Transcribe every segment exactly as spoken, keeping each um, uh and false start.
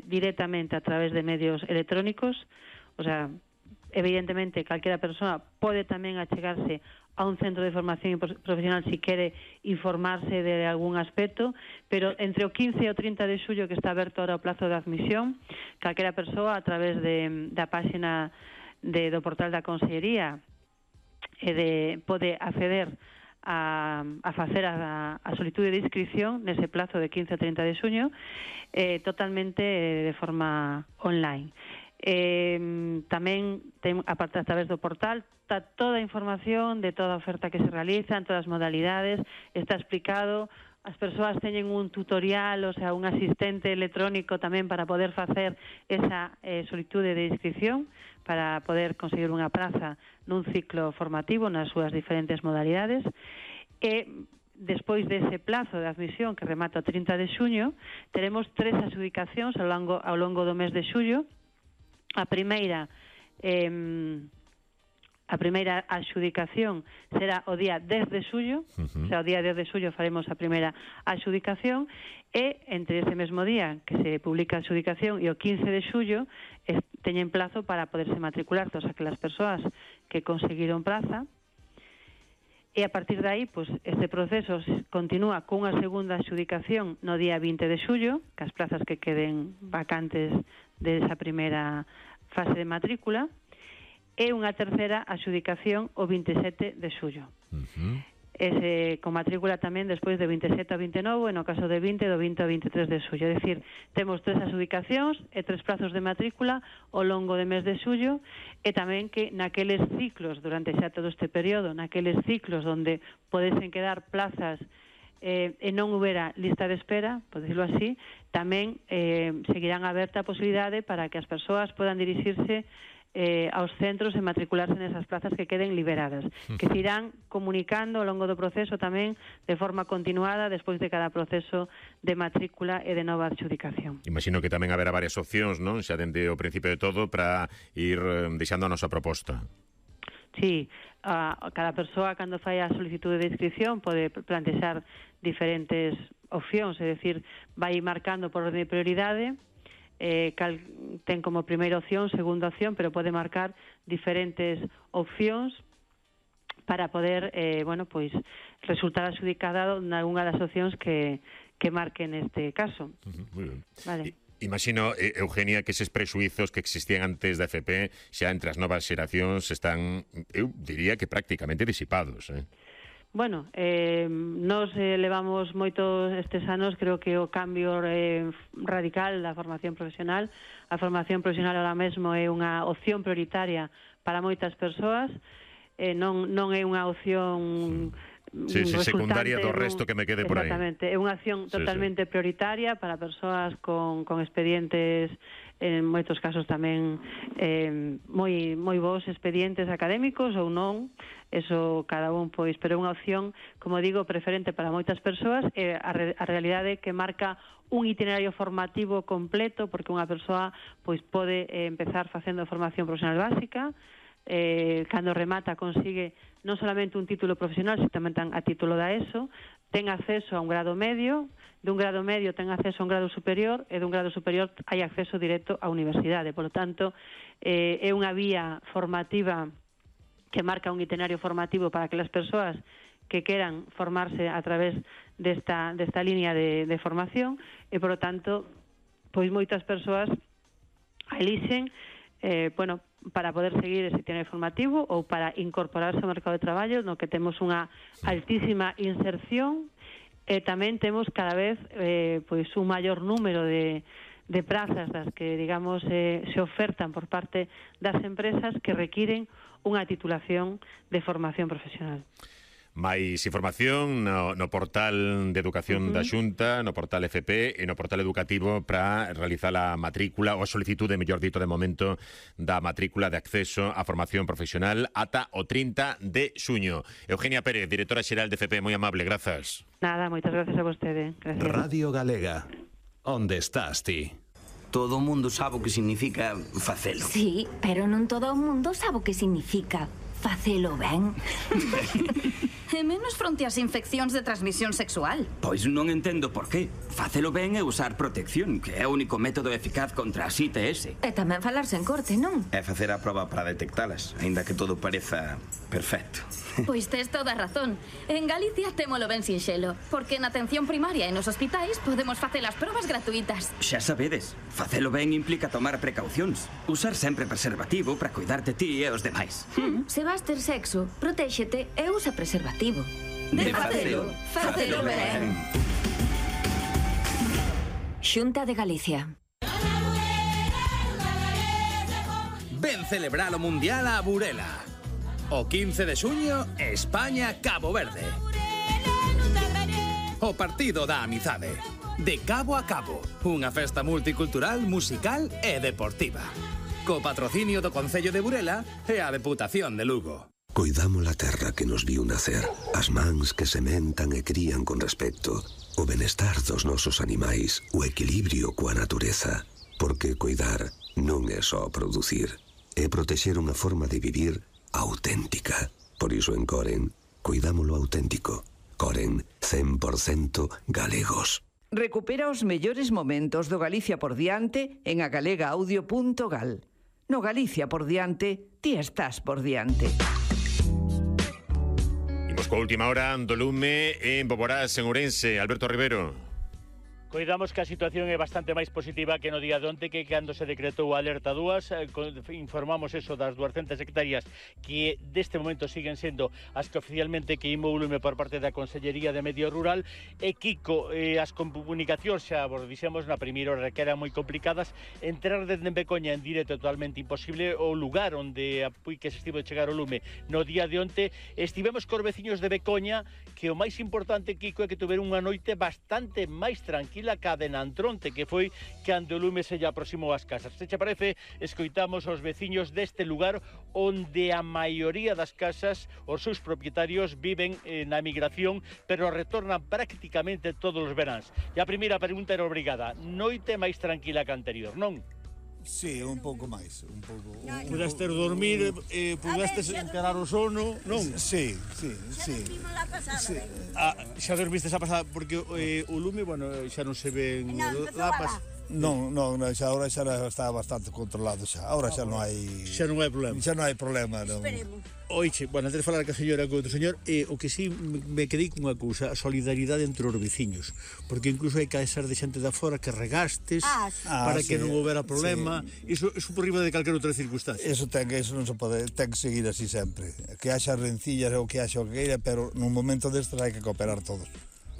directamente a través de medios electrónicos, o sea, evidentemente calquera persoa pode tamén achegarse a un centro de formación profesional si quere informarse de algún aspecto, pero entre o quince e o trinta de xullo, que está aberto ahora o plazo de admisión, calquera persoa a través de, da páxina de, do portal da Consellería e de, pode acceder a, a facer a, a solitude de inscripción nese plazo de quince a trinta de xuño eh, totalmente eh, de forma online. Eh, tamén ten, aparte a través do portal está toda a información de toda a oferta que se realiza en todas as modalidades, está explicado, as persoas teñen un tutorial, o sea, un asistente electrónico tamén para poder facer esa eh, solitude de inscripción, para poder conseguir unha praza nun ciclo formativo nas súas diferentes modalidades. E despois dese plazo de admisión que remata o trinta de xuño, teremos tres adxudicacións ao longo, ao longo do mes de xullo. A primeira eh, a primeira adxudicación será o día dez de xullo, uh-huh. o sea, o día dez de xullo faremos a primeira adxudicación, e entre ese mesmo día que se publica a adxudicación e o quince de xullo es, teñen plazo para poderse matricular todas aquelas persoas que conseguiron praza, e a partir de aí, pues, este proceso continúa cunha segunda adxudicación no día vinte de xullo, que as plazas que queden vacantes desa primeira fase de matrícula, e unha terceira adxudicación o vinte e sete de xullo. Uh-huh. Ese, con matrícula tamén despois de vinte e sete a vinte e nove, e no caso de vinte, do vinte ao vinte e tres de xullo. É dicir, temos tres adxudicacións e tres prazos de matrícula ao longo do mes de xullo, e tamén que naqueles ciclos, durante xa todo este período, naqueles ciclos onde podesen quedar plazas eh, e non houbera lista de espera, por decirlo así, tamén eh, seguirán aberta a posibilidade para que as persoas podan dirixirse eh, aos centros e matricularse nesas plazas que queden liberadas, que se irán comunicando ao longo do proceso tamén de forma continuada despois de cada proceso de matrícula e de nova adxudicación. Imagino que tamén haberá varias opcións, non? Xa dende o principio de todo para ir deixando a nosa proposta. Sí, a, cada persoa cando fai a solicitude de inscripción pode plantexar diferentes opcións, é dicir, vai marcando por orden de prioridade, eh, cal, ten como primeira opción, segunda opción, pero pode marcar diferentes opcións para poder, eh, bueno, pois, resultar adxudicada nalgunha das opcións que, que marque neste caso. Uh-huh, moi ben. Vale. I Imagino, eh, Eugenia, que eses prexuizos que existían antes da F P xa entre as novas xeracións están, eu diría que prácticamente disipados, eh? Bueno, eh, nos eh, levamos moitos estes anos, creo que o cambio eh, radical da formación profesional. A formación profesional ahora mesmo é unha opción prioritaria para moitas persoas, eh, non, non é unha opción... Sí, sí, secundaria do resto que me quede por aí. Exactamente, é unha acción totalmente sí, sí. prioritaria para persoas con, con expedientes, en moitos casos tamén eh, moi, moi bons expedientes académicos ou non, eso cada un, pois, pero é unha opción, como digo, preferente para moitas persoas, e a, re, a realidade que marca un itinerario formativo completo, porque unha persoa pois pode eh, empezar facendo formación profesional básica, eh, cando remata consigue non solamente un título profesional, sino tamén a título da ESO, ten acceso a un grado medio, dun grado medio ten acceso a un grado superior, e dun grado superior hai acceso directo á universidade. Por lo tanto, eh, é unha vía formativa que marca un itinerario formativo para que as persoas que queran formarse a través desta, desta línea de, de formación, e, por lo tanto, pois moitas persoas elixen, eh, bueno, para poder seguir ese itinerario formativo ou para incorporarse ao mercado de traballo, no que temos unha altísima inserción, e tamén temos cada vez eh, pois un maior número de, de prazas das que, digamos, eh, se ofertan por parte das empresas que requiren unha titulación de formación profesional. Mais información no, no portal de educación uh-huh. da Xunta, no portal F P e no portal educativo para realizar a matrícula ou a solicitude, mellor dito, de momento da matrícula de acceso á formación profesional ata o trinta de xuño. Eugenia Pérez, directora xeral de F P, moi amable, grazas. Nada, moitas gracias a vostede. Gracias. Radio Galega, onde estás ti? Todo o mundo sabe o que significa facelo. Sí, pero non todo o mundo sabe o que significa facelo ben. E menos fronte ás infeccións de transmisión sexual. Pois non entendo por qué. Facelo ben é usar protección, que é o único método eficaz contra as I T S. E tamén falarse en corte, non? É facer a proba para detectalas, aínda que todo pareza perfecto. Pois tes toda a razón. En Galicia témolo ben sinxelo, porque na atención primaria e nos hospitais podemos facer as probas gratuitas. Xa sabedes, facelo ben implica tomar precaucións. Usar sempre preservativo para cuidar de ti e os demais. Hmm. Se vas ter sexo, protéxete e usa preservativo. De facelo, facelo ben. Xunta de Galicia. Ven celebrar o Mundial a Burela. O quince de xuño, España-Cabo Verde. O partido da amizade. De cabo a cabo. Unha festa multicultural, musical e deportiva. Co patrocinio do Concello de Burela e a Deputación de Lugo. Coidamos a terra que nos viu nacer, as mans que sementan e crían con respecto, o benestar dos nosos animais, o equilibrio coa natureza. Porque coidar non é só producir, é protexer unha forma de vivir auténtica. Por iso en Coren, cuidámolo auténtico. Coren, cen por cento galegos. Recupera os mellores momentos do Galicia por diante en agalegaaudio punto gal. No Galicia por diante, ti estás por diante. Imos coa última hora do lume en Boborás, en Ourense. Alberto Rivero. Coidamos que a situación é bastante máis positiva que no día de onte, que cando se decretou a alerta dúas, informamos eso das duascentas hectáreas que deste momento siguen sendo as que oficialmente queimou o lume por parte da Consellería de Medio Rural. E Kiko, eh, as comunicacións xa vos dixemos na primeira hora que eran moi complicadas. Entrar desde Becoña en directo é totalmente imposible. O lugar onde apui que se estivo de chegar o lume no día de onte, estivemos cos veciños de Becoña, que o máis importante, Kiko, é que tuveron unha noite bastante máis tranquila a cadena Antronte, que foi cando o lume se lle aproximou ás casas. Se che parece, escoitamos aos veciños deste lugar onde a maioría das casas, os seus propietarios viven eh, na emigración, pero retornan prácticamente todos os veráns. E a primeira pregunta era obrigada: noite máis tranquila que anterior, non? Sí, un pouco máis, un pouco. Pudaste dormir, eh, pudaste encarar o sono, non? Sí, sí, sí. Sí. Ah, xa dormistes a pasada porque eh, o lume, bueno, xa non se ven lapas. Non, non, xa agora xa está bastante controlado xa. Agora xa non hai Xa non hai problema. Xa non hai problema, non. Esperemos. Oiche, bueno, antes de falar ca señora co outro señor, eh, o que sí me quedei cunha cousa, a solidaridade entre os veciños, porque incluso hai que ser de xente da fora que regastes ah, sí. para ah, que sí, non houbera problema. Sí. Iso, iso por riba de calquera outra circunstancia. Eso ten, eso non se pode, ten que seguir así sempre. Que haxa rencillas ou que haxa o que queira, pero nun momento destes hai que cooperar todos.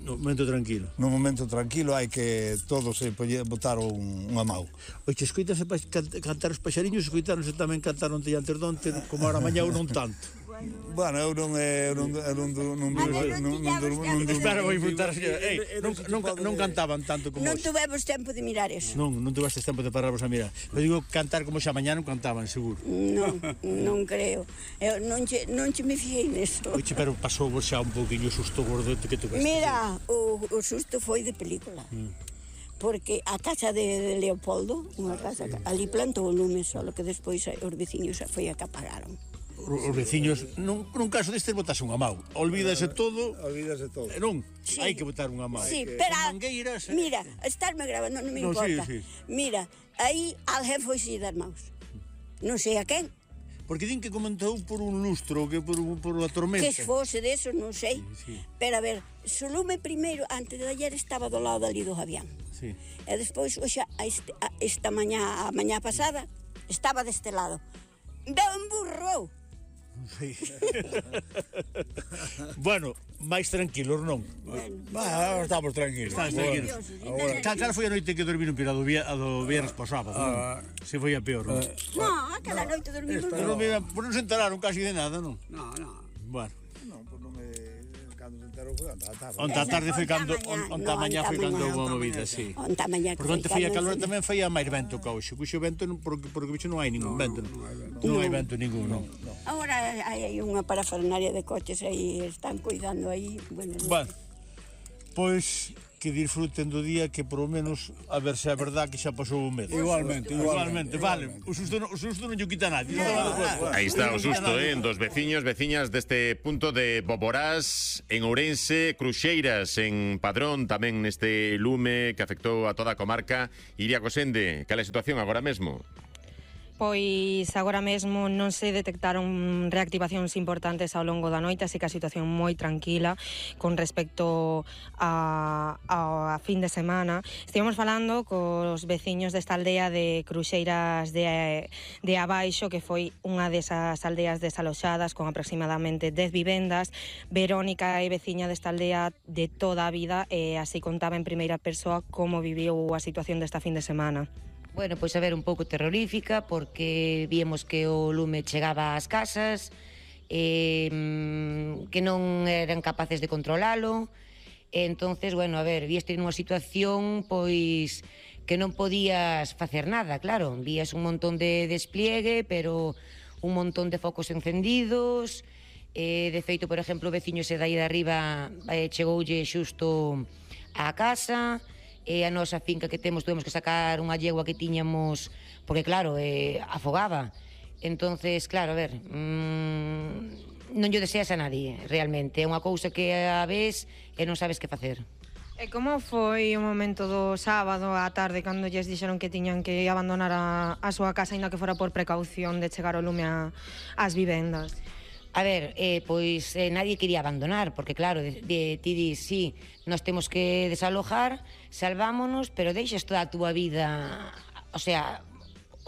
No momento tranquilo. No momento tranquilo hai que todos se botar un, unha mau. Oiche, escoitase cantar os paxariños, escoitaronse tamén cantar onte e antes donte, como ahora mañá ou non tanto. Bueno, eu non eu non eu non non non espera, vou inventar, señora. Ei, non non non cantaban tanto como Non tuvemos tempo de mirar eso. Non, non tuvestes tempo de pararvos a mirar. Eu digo cantar como xa mañá non cantaban, seguro. Non, non creo. Eu non che non che me fijei neso. Oiche, pero pasou vos xa un pouquiño susto gordote que tuveste. Mira, o o susto foi de película. Porque a casa de Leopoldo, unha casa, ali plantou o lume, solo que despois os veciños foi a que apagaron. Os veciños, nun, nun caso destes, botase unha mau. Olvídase todo. Olvídase todo. Non, sí. Hai que botar unha mau. Sí, pero, mangueiras, eh. Mira, estarme grabando non me no, importa. Sí, sí. Mira, aí alguén foi si das maus. Non sei a quen. Porque din que comentou por un lustro, que por, por a tormenta. Que fose deso, non sei. Sí, sí. Pero a ver, o lume primeiro, antes de ayer, estaba do lado ali do Javián. Sí. E despois, oxa, este, esta mañá, a mañá pasada, estaba deste lado. Veu emburrou. Sí. Bueno, máis tranquilos, non? Bueno, ah, estamos tranquilos. Estamos tranquilos. Cal, cal foi a noite que dormiron pero a do, a do viernes po sábado? Ah, se foi a peor, non? Non, aquela noite dormimos. Pero non se enteraron casi de nada, non? Non, non. Bueno. Non, pois non me... Cando se enterou foi onta a tarde. Onta a tarde foi cando... Onta a mañá foi cando houve a movida, sí. Onta a mañá. Porque onte foi a calor tamén foi a máis vento que hoxe. Cuxo vento, porque bicho non hai ningún vento. Non hai vento ningún, non. Agora hai unha parafernalia de coches aí, están cuidando aí. Bueno, bueno, pois que disfruten do día, que por lo menos a ver se é verdad que xa pasou o medo. Igualmente, igualmente, vale. O susto, o susto non lle quita a nadie. Aí está o susto, eh, dos veciños, veciñas deste punto de Boborás, en Ourense, Cruxeiras, en Padrón, tamén neste lume que afectou a toda a comarca. Iria Cosende, cal é a situación agora mesmo? Pois agora mesmo non se detectaron reactivacións importantes ao longo da noite, así que a situación moi tranquila con respecto a, a, a fin de semana. Estivemos falando cos veciños desta aldea de Cruxeiras de, de Abaixo, que foi unha desas aldeas desaloxadas con aproximadamente dez vivendas. Verónica é veciña desta aldea de toda a vida e así contaba en primeira persoa como viviu a situación desta fin de semana. Bueno, pois a ver, un pouco terrorífica, porque víamos que o lume chegaba ás casas, eh, que non eran capaces de controlalo, e entonces, bueno, a ver, víeste nunha situación, pois, que non podías facer nada, claro, vías un montón de despliegue, pero un montón de focos encendidos, eh, de feito, por exemplo, o veciño se dai de arriba eh, chegoulle xusto á casa, e a nosa finca que temos tuvemos que sacar unha yegua que tiñamos porque claro, eh, afogaba. Entonces, claro, a ver, mmm, non lle deseas a nadie realmente, é unha cousa que a vez e non sabes que facer. E como foi o momento do sábado á tarde cando lles dixeron que tiñan que abandonar a, a súa casa ainda que fora por precaución de chegar o lume a, ás vivendas? A ver, eh, pois eh, nadie quería abandonar, porque claro, de, de, ti dis, sí, nos temos que desalojar, salvámonos, pero deixas toda a túa vida, o sea,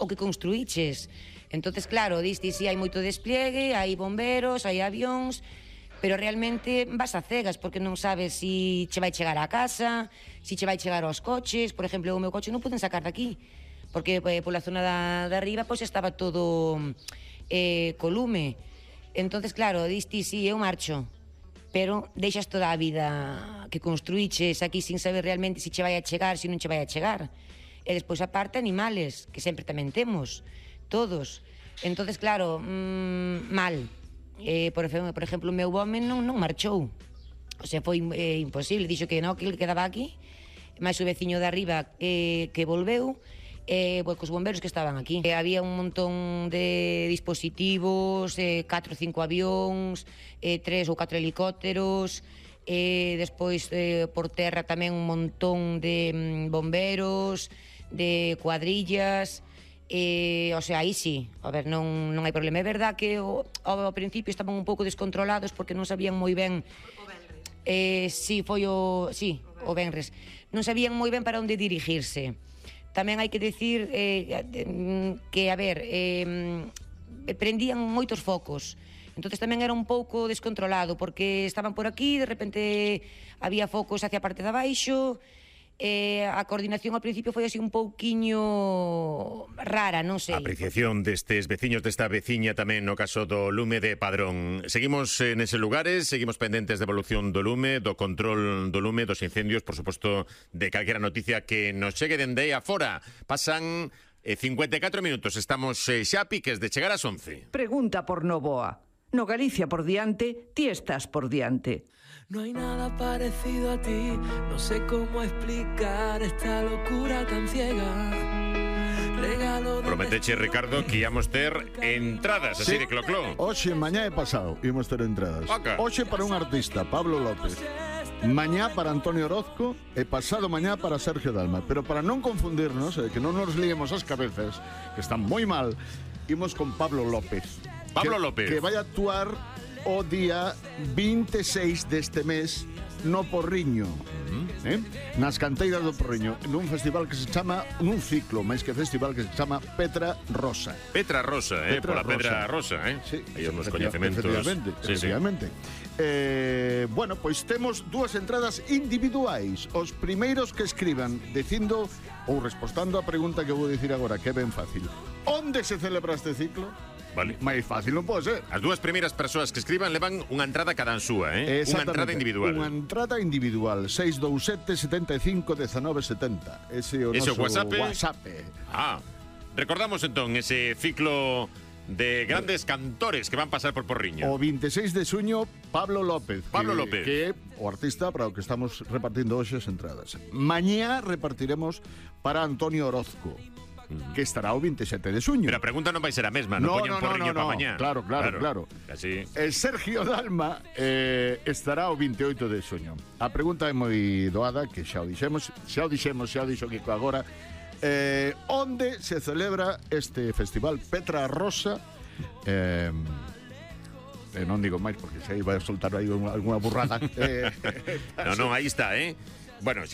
o que construíches. Entonces, claro, diste, sí, hai moito despliegue, hai bomberos, hai avións, pero realmente vas a cegas, porque non sabes si che vai chegar á casa, si che vai chegar aos coches. Por exemplo, o meu coche non poden sacar daqui, porque eh, pola zona da, da arriba, pois estaba todo eh, co lume. Entonces, claro, diste, sí, eu marcho, pero deixas toda a vida que construíches aquí sin saber realmente se che vai a chegar, se non che vai a chegar. E despois, aparte, animales, que sempre tamén temos, todos. Entonces, claro, mmm, mal. Eh, por, por exemplo, o meu home non, non marchou. O sea, foi eh, imposible, dixo que non, que ele quedaba aquí, máis o veciño de arriba eh, que volveu, Eh, pues, cos bomberos que estaban aquí. Eh, había un montón de dispositivos, eh, catro ou cinco avións, eh, tres ou catro helicópteros, eh, despois eh, por terra tamén un montón de mm, bomberos, de cuadrillas, eh, o sea, aí sí, a ver, non, non hai problema. É verdad que o, ao principio estaban un pouco descontrolados porque non sabían moi ben... Eh, sí, foi o... Sí, o venres. Non sabían moi ben para onde dirigirse. Tamén hai que decir eh, que, a ver, eh, prendían moitos focos. Entonces tamén era un pouco descontrolado, porque estaban por aquí, de repente había focos hacia a parte de abaixo, eh, a coordinación ao principio foi así un pouquiño rara, non sei. Apreciación destes veciños desta veciña tamén no caso do lume de Padrón. Seguimos en eses lugares, seguimos pendentes de evolución do lume, do control do lume, dos incendios, por suposto, de calquera noticia que nos chegue dende aí afora. Pasan eh, cincuenta e catro minutos, estamos eh, xa a piques de chegar ás once. Pregunta por Novoa. No Galicia por diante, ti estás por diante. No hay nada parecido a ti, no sé cómo explicar esta locura tan ciega. Regalo de... Prometeche, Ricardo, que íamos ter entradas, así sí. de clocló. Oxe, mañá e pasado, íamos ter entradas. Oca. Oxe para un artista, Pablo López. Mañá para Antonio Orozco e pasado mañá para Sergio Dalma. Pero para non confundirnos, eh, que non nos liemos as cabezas, que están moi mal, imos con Pablo López. Pablo que, López. Que vai a actuar o día vinte e seis deste mes no Porriño, uh-huh. eh? nas canteiras do Porriño, nun festival que se chama, nun ciclo, máis que festival, que se chama Petra Rosa. Petra Rosa, eh? Petra Pola Pedra Rosa, eh? Sí, aí os coñecementos. Efectivamente, sí, efectivamente. Sí. Eh, bueno, pois temos dúas entradas individuais. Os primeiros que escriban dicindo ou respostando a pregunta que vou dicir agora, que é ben fácil. Onde se celebra este ciclo? Vale. Máis fácil non pode ser. As dúas primeiras persoas que escriban levan unha entrada cada súa, eh? Unha entrada individual. Unha entrada individual. seis dous sete, setenta e cinco, dezenove setenta. Ese é o ese noso WhatsApp. WhatsApp. Ah, recordamos entón ese ciclo de grandes cantores que van pasar por Porriño. O veintiséis de xuño, Pablo López. Pablo que, López. Que é o artista para o que estamos repartindo hoxe as entradas. Mañá repartiremos para Antonio Orozco, que estará o veintisiete de xuño. Pero a pregunta non vai ser a mesma, non No, poñen no, no, Porriño no, para no. mañá. Claro, claro, claro. Así. El Sergio Dalma eh, estará o veintioito de xuño. A pregunta é moi doada, que xa o dixemos, xa o dixemos, xa o dixo Kiko agora. Eh, onde se celebra este festival Petra Rosa? Eh, eh, non digo máis porque xa iba a soltar aí unha, alguna burrada. eh, No, no, aí está, eh. Bueno,